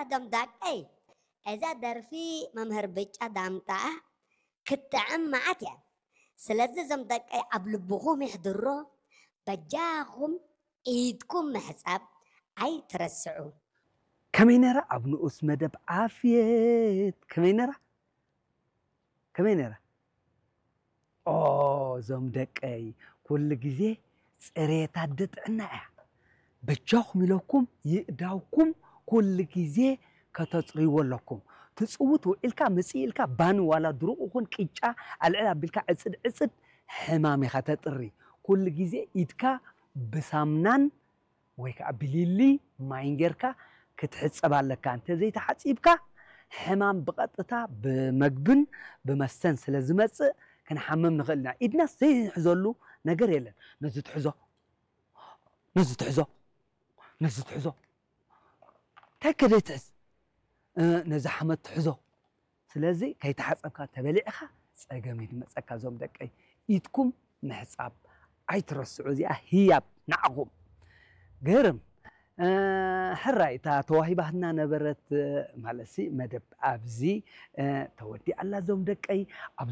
እዞም ደቀይ፣ እዛ ደርፊ መምህር ብጫ ዳምጣ ክትጥዕም መዓት እያ። ስለዚ እዞም ደቀይ ኣብ ልብኹም ይሕድሮ፣ በጃኹም ኢድኩም ምሕጻብ ኣይትረስዑ። ከመይ ነራ ኣብ ንኡስ መደብ ዓፍየት? ከመይ ነራ? ከመይ ነራ? ኦ፣ እዞም ደቀይ፣ ኩሉ ግዜ ጽሬት ኣደ ጥዕና እያ። በጃኹም ኢለኩም ይእዳውኩም ኩሉ ግዜ ከተጽርይዎ ኣለኩም። ትጽውት ውዒልካ መጽእ ኢልካ ባኒ ዋላ ድሩቕ ይኹን ቅጫ ኣልዕል ኣቢልካ ዕጽድ ዕጽድ ሕማም ኢኻ ተጥሪ። ኩሉ ግዜ ኢድካ ብሳምናን ወይ ከዓ ብሊሊ ማይን ጌርካ ክትሕጸብ ኣለካ። እንተ ዘይተሓጺብካ ሕማም ብቐጥታ ብመግብን ብመስተን ስለ ዝመጽእ ክንሓምም ንኽእል ኢና። ኢድና ዘይንሕዘሉ ነገር የለን። ነዚ ትሕዞ፣ ነዚ ትሕዞ፣ ነዚ ትሕዞ። እንታይ ከደይ ትሕዝ? እ፣ ነዚ ሓመድ ትሕዞ። ስለዚ ከይተሓጸብካ ተበሊዕኻ ጸገም እዩ ዝመጸካ። እዞም ደቀይ ኢድኩም ምሕጻብ ኣይትረስዑ። እዚኣ ህያብ ንዓኹም። ግርም። እ፣ ሕራይ እታ ተዋሂባትና ነበረት፣ እ፣ ማለትሲ መደብ ኣብዚ፣ እ፣ ተወዲኣ ኣላ። እዞም ደቀይ ኣብ